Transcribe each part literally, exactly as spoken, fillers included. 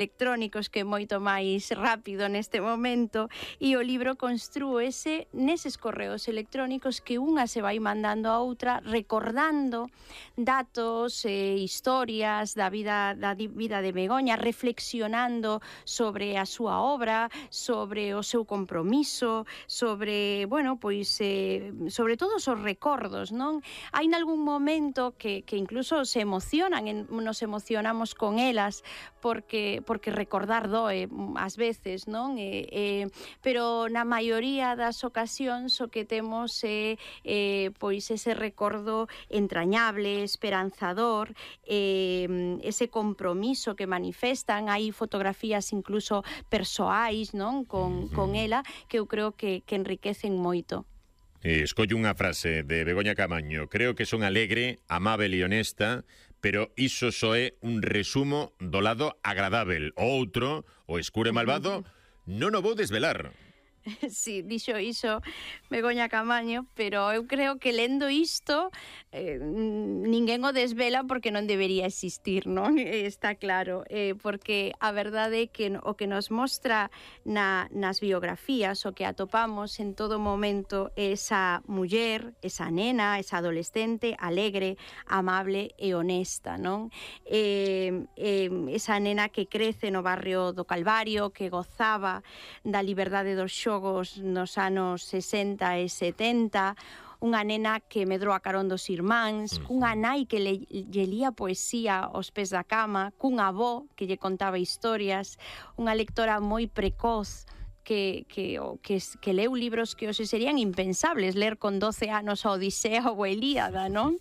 electrónicos, que é moito máis rápido neste momento, e o libro construese neses correos electrónicos que unha se vai mandando a outra, recordando datos e eh, historias da vida da vida de Begoña, reflexionando sobre a súa obra, sobre o seu compromiso, sobre, bueno, pois eh, sobre todos os recordos, non? Hai nalgún momento que, que incluso se emocionan, en, nos emocionamos con elas, porque porque recordar doe ás veces, non? E, e, pero na maioría das ocasións o que temos é eh, pois ese recordo entrañable, esperanzador, eh, ese compromiso que manifestan. Hai fotografías incluso persoais, non? Con, con ela, que eu creo que, que enriquecen moito. Escollo unha frase de Begoña Camaño: creo que son alegre, amável e honesta, pero iso só é un resumo do lado agradável. O outro, o escuro e malvado, non o vou desvelar. Sí, dixo iso Begoña Camaño, pero eu creo que lendo isto eh, ninguén o desvela porque non debería existir, non? Está claro, eh, porque a verdade é que o que nos mostra na, nas biografías, o que atopamos en todo momento é esa muller, esa nena, esa adolescente alegre, amable e honesta, non? Eh, eh, esa nena que crece no barrio do Calvario, que gozaba da liberdade dos xogos nos anos sesenta e setenta, unha nena que medrou a carón dos irmáns, cunha nai que le, lle lía poesía aos pés da cama, cun avó que lle contaba historias, unha lectora moi precoz, que, que, que, que leu libros que hoxe serían impensables ler con doce anos a Odisea ou a Ilíada, non?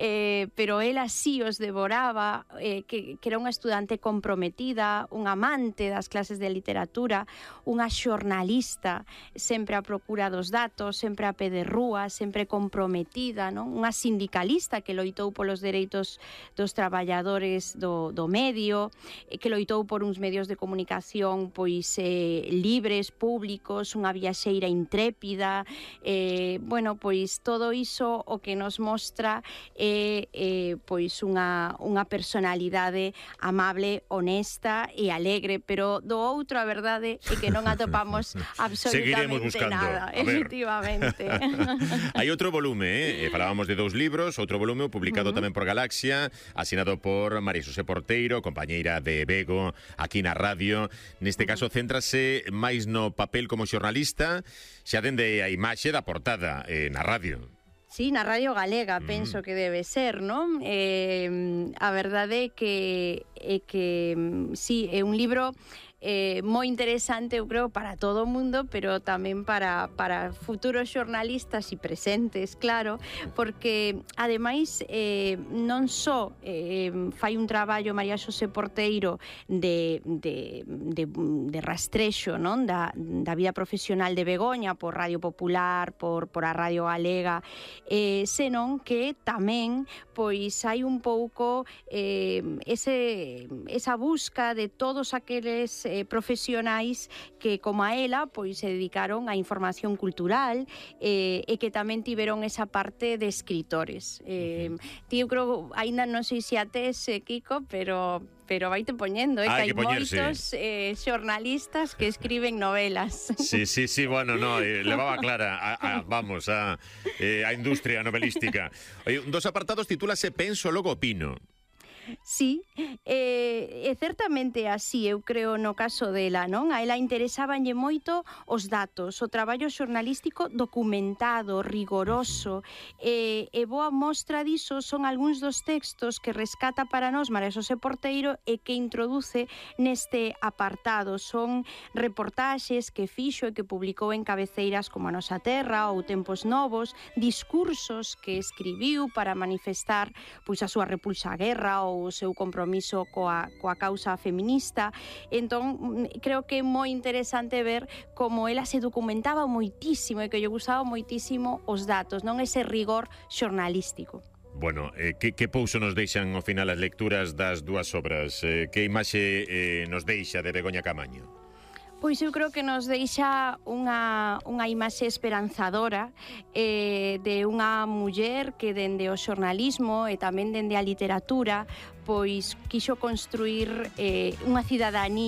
Eh, pero ela sí os devoraba, eh, que, que era unha estudante comprometida, unha amante das clases de literatura, unha xornalista, sempre a procura dos datos, sempre a pé de rúa, sempre comprometida, non? Unha sindicalista que loitou polos dereitos dos traballadores do, do medio, que loitou por uns medios de comunicación pois eh, libres, públicos, unha viaxeira intrépida, eh, bueno, pois todo iso o que nos mostra é eh, pois unha, unha personalidade amable, honesta e alegre, pero do outro a verdade é que non atopamos absolutamente nada, efectivamente. Hai outro volume, eh? falábamos de dous libros, outro volume publicado uh -huh. tamén por Galaxia, asinado por María Xosé Porteiro, compañeira de Bego aquí na radio. Neste caso céntrase máis no papel como xornalista, xa dende a imaxe da portada eh, na radio. Sí, na Radio Galega, mm. penso que debe ser, non? Eh, a verdade é que, é que sí, é un libro eh, moi interesante, eu creo, para todo o mundo, pero tamén para, para futuros xornalistas e presentes, claro, porque, ademais, eh, non só eh, fai un traballo María Xosé Porteiro de, de, de, de rastrexo, non? Da, da vida profesional de Begoña por Radio Popular, por, por a Radio Galega, eh, senón que tamén pois hai un pouco eh, ese, esa busca de todos aqueles eh, profesionais que, como a ela, pois se dedicaron á información cultural eh, e que tamén tiveron esa parte de escritores. Eh, tío, creo, aínda non sei se a tes, eh, Kiko, pero... pero vaite poñendo, eh, ah, que hai moitos eh, xornalistas que escriben novelas. Sí, sí, sí, bueno, no, eh, levaba clara, a, a, vamos, a, eh, a industria novelística. Oye, un dos apartados titúlase Penso, logo opino. Sí, eh, é certamente así, eu creo, no caso dela, non? A ela interesábanlle moito os datos, o traballo xornalístico documentado, rigoroso, e, e boa mostra diso son algúns dos textos que rescata para nós María Xosé Porteiro e que introduce neste apartado. Son reportaxes que fixo e que publicou en cabeceiras como A Nosa Terra ou Tempos Novos, discursos que escribiu para manifestar pois a súa repulsa á guerra ou o seu compromiso coa, coa causa feminista. Entón, creo que é moi interesante ver como ela se documentaba moitísimo e que lle gustaba moitísimo os datos, non ese rigor xornalístico. Bueno, eh, que, que pouso nos deixan ao final as lecturas das dúas obras? Eh, que imaxe eh, nos deixa de Begoña Camaño? Pois eu creo que nos deixa unha, unha imaxe esperanzadora eh, de unha muller que dende o xornalismo e tamén dende a literatura pois quixo construir eh, unha cidadanía